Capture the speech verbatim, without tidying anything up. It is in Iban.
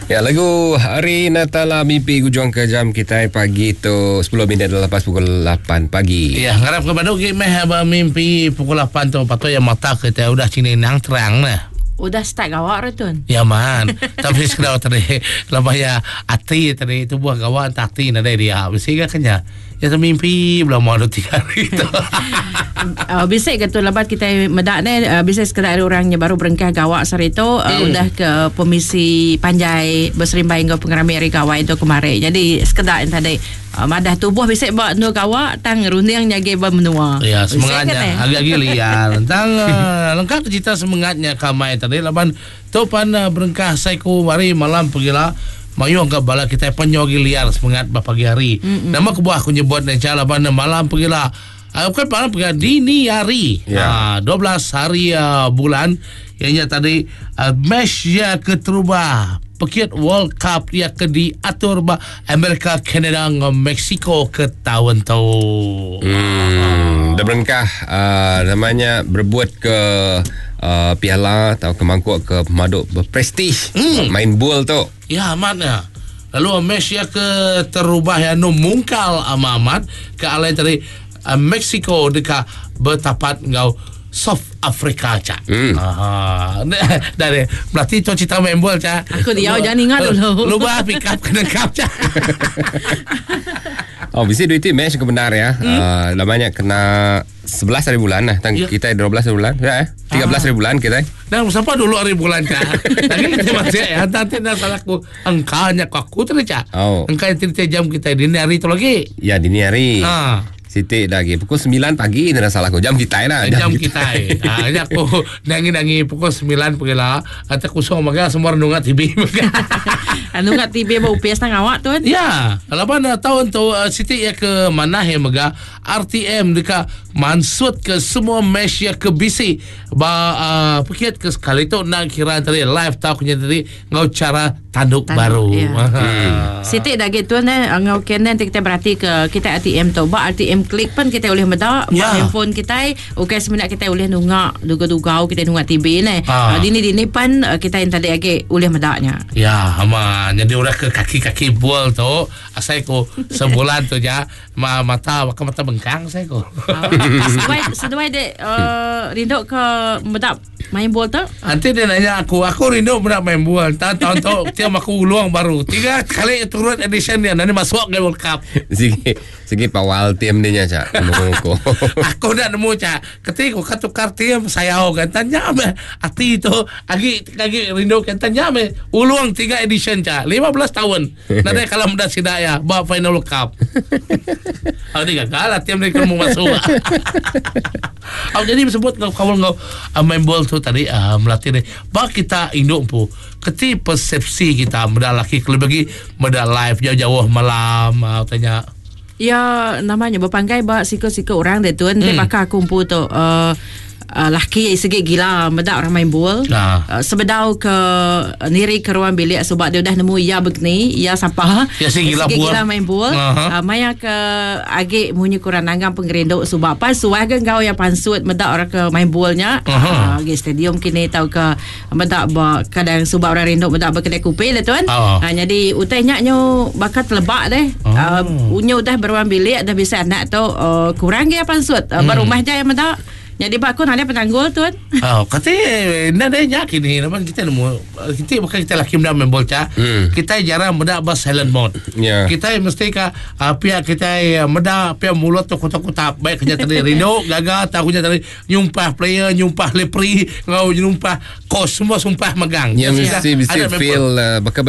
Ya, lagu Hari Natala Mimpi Gujung ke jam kita pagi tu sepuluh minit lepas pukul lapan pagi. Ya, ngarap ke badu ki meh ba mimpi pukul lapan tu patut ya mata kita udah cini nang terang nah. Udah start gawak retun. Ya man. Tapi sekedar tadi lepas ya ati tadi tu buah gawak ati nadai dia. Mesti ke kenya. Ya tu mimpi belum mau tiga hari tu. uh, bisa ke tu lebat kita medak ni uh, bisa sekedar orangnya baru berengkah gawak sehari tu uh, hmm. udah ke permisi panjai berserimbai dengan pengerami hari gawak itu kemarin. Jadi sekedar yang tadi uh, madah tubuh bisa buat nu gawak tang runding nyage bermenua. Ya semangatnya agak-agak liar. Tentang uh, lengkap cerita semangatnya kamai tadi laban tu pan uh, berengkah saiku mari malam pergilah. Mayu angkat bala kita penyogi liar semangat pagi hari. Mm-mm. Nama kebuah aku nyebut ni cara laban malam pergilah. Uh, bukan malam pergilah dini hari. Ya. Uh, dua belas hari uh, bulan ianya tadi uh, match ya keterubah Pekit World Cup ya ke diatur ba Amerika, Kanada dengan Mexico ke tahun tu. Hmm, dah berengkah uh, namanya berbuat ke uh, piala atau ke mangkuk ke pemaduk berprestij hmm. main bol tu. Ya amat ya. Lalu match ya ke terubah ya nu mungkal amat ke alai tadi uh, Mexico dekat bertapat ngau South Africa cak. Hmm. Aha. Dari berarti tu cerita main bol cak. Aku dia jangan ingat dulu. Lu bah pick up kena cup cak. Oh, bisa duit match ke benar ya. Hmm. Uh, lamanya kena sebelas hari bulan lah. Tang Ya. kita dua belas hari bulan. Ya eh. tiga belas hari bulan kita. Dan siapa dulu hari bulan cak. Lagi kita masih ya nanti dah salah aku engkau nya aku tu cak. Oh. Engkau yang tiga jam kita dini hari tu lagi. Ya dini hari. Ha. Siti lagi pukul sembilan pagi ni dah salah aku jam kita lah. Jam, jam kita. Ha, ini aku nangi-nangi pukul sembilan pergilah. Atau kusung maga semua nungat T V. Nungat T V bau U P S nang awak tu kan? Ya, lapan tahun tu uh, Siti ya ke mana ya mega R T M dekat mansut ke semua match ya ke B C ba uh, pekiat ke sekali tu nak kira tadi live tau punya tadi ngau cara tanduk, tanduk baru. Ya. Hmm. Siti dah gitu ne ngau kena nanti kita berarti ke kita R T M tu ba R T M klik pun kita boleh medak ya. Handphone kita okey sebenarnya kita boleh nungak duga-dugau kita nungak T V ne. Ha. Uh, dini dini pan kita yang tadi lagi boleh medaknya. Ya, aman. Jadi orang ke kaki-kaki bol tu asai ku sebulan tu ja ma mata maka mata bengkang saya ku. Seduai seduai dek uh, rindu ke medak main bol tu? Nanti dia nanya aku, aku rindu medak main bol. Tahun tahun tu tiap aku ulang baru. Tiga kali turut edition dia nanti masuk ke World Cup. Sigi sigi pawal tim dia nya cak. Nemu aku. Aku nak nemu cak. Ketika aku tukar tim saya kan tanya me ati tu agi agi rindu kan tanya me ulang tiga edition cak. lima belas tahun. Nanti kalau muda sidak ya bawa final World Cup. Aku ni gagal lah tim ni kamu masuk. Aku jadi sebut kau kau kau main bol tu tadi uh, melatih ni. Bak kita induk pu. Keti persepsi kita muda laki kalau bagi muda live jauh-jauh malam uh, tanya. Ya namanya berpanggai bak siku-siku orang dia tu. Nanti Hmm. bakal aku pun tu uh, Uh, laki segi gila medak orang main bol. Nah. Uh, sebedau ke uh, niri ke ruang bilik sebab dia dah nemu ia begini, ia siapa? Ya, segi gila segi bol. gila main bol. Aha. Uh, maya ke agi munyi kurang nanggam pengerinduk sebab apa suah ke kau yang pansut medak orang ke main bolnya. Aha. Uh, agi stadium kini tau ke medak ba kadang sebab orang rinduk medak berkedai kupi lah tuan. Ah. Uh, jadi utainya nyo bakal telebak deh. Oh. Uh, unyo dah beruang bilik dah bisa anak tu uh, kurang ge pansut. Uh, Hmm. Berumah je yang medak. Jadi pak aku nak penanggul tuan. Oh, kata nak ada nyak ini, namun kita nemu kita bukan kita laki muda main bol cak. Hmm. Kita jarang muda bas silent mode. Ya. Kita mesti ka uh, pihak kita muda pihak mulut tu kotak-kotak baik kerja tadi rindu gagal tahunya tadi nyumpah player, nyumpah lepri, ngau nyumpah coach semua sumpah megang. Ya mesti mesti Ada main bol. feel uh, bakal